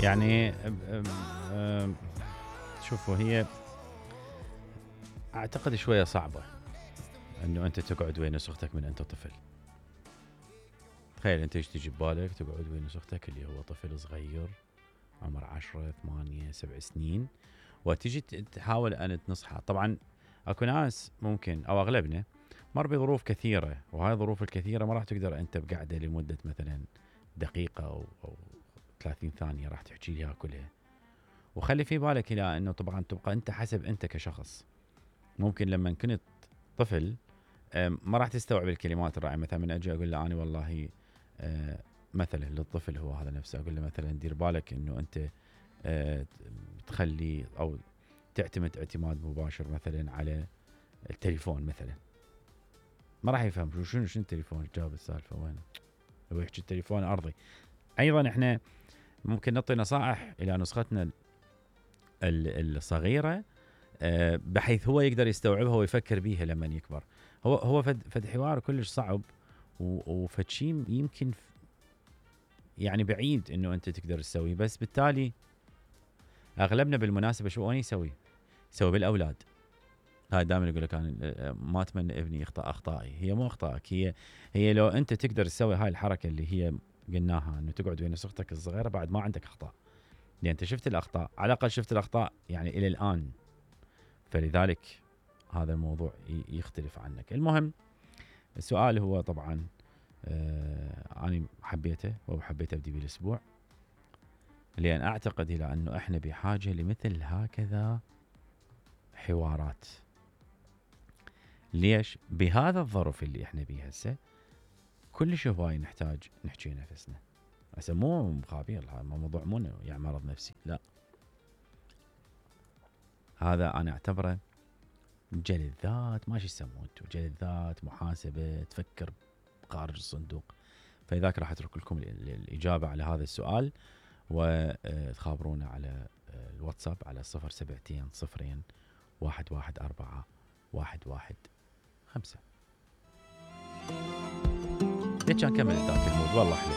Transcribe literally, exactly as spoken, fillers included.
يعني أم- أم- أم، شوفوا هي اعتقد شويه صعبه انه انت تقعد وين اختك من انت طفل. تخيل انت ايش تجي ببالك تقعد وين اختك اللي هو طفل صغير عمر عشرة ثمانية سبع سنين وتجي تحاول ان تنصحه. طبعا اكو ناس ممكن او اغلبنا مر بظروف كثيره، وهاي الظروف الكثيره ما راح تقدر انت بقعده لمده مثلا دقيقه او او ثلاثين ثانيه راح تحكي لها كلها. وخلي في بالك الى انه طبعا تبقى انت حسب انت كشخص. ممكن لما كنت طفل أم، ما راح تستوعب الكلمات الرائعه. مثلا من اجي اقول له انا والله أه، مثلا للطفل هو هذا نفسه اقول له مثلا دير بالك انه انت أه، تخلي او تعتمد اعتماد مباشر مثلا على التليفون مثلا. ما راح يفهم شو شنو شنو التليفون جاب السالفه وين هو يحكي التليفون ارضي. ايضا احنا ممكن نعطي نصائح الى نسختنا ال- الصغيره أه، بحيث هو يقدر يستوعبها ويفكر بيها لما يكبر. هو هو فد فد حوار كلش صعب وفد شيء يمكن يعني بعيد انه انت تقدر تسويه. بس بالتالي اغلبنا بالمناسبه شو انا يسوي؟ يسوي بالاولاد. هاي دائما يقول لك انا ما اتمنى ابني يخطا اخطائي. هي مو اخطائك، هي هي لو انت تقدر تسوي هاي الحركه اللي هي قلناها انه تقعد وين اختك الصغيره بعد ما عندك اخطاء. لان انت شفت الاخطاء، على الاقل شفت الاخطاء يعني الى الان. فلذلك هذا الموضوع يختلف عنك. المهم السؤال هو طبعا آه انا حبيته وحبيت ابدي بالاسبوع لان اعتقد الى انه احنا بحاجه لمثل هكذا حوارات. ليش؟ بهذا الظرف اللي احنا بيه هسه كلش هواي نحتاج نحكي نفسنا. هسه مو مخابير، هذا موضوع مو يعني مرض نفسي، لا، هذا انا اعتبره جلد ذات. ما شو يسمونه انتم، جلد ذات، محاسبه، تفكر خارج الصندوق. فلذلك راح اترك لكم الاجابه على هذا السؤال وتخابرونا على الواتساب على صفر سبعتين صفرين واحد واحد أربعة واحد واحد خمسة. ليش كان كمل ذاك المود والله حلو.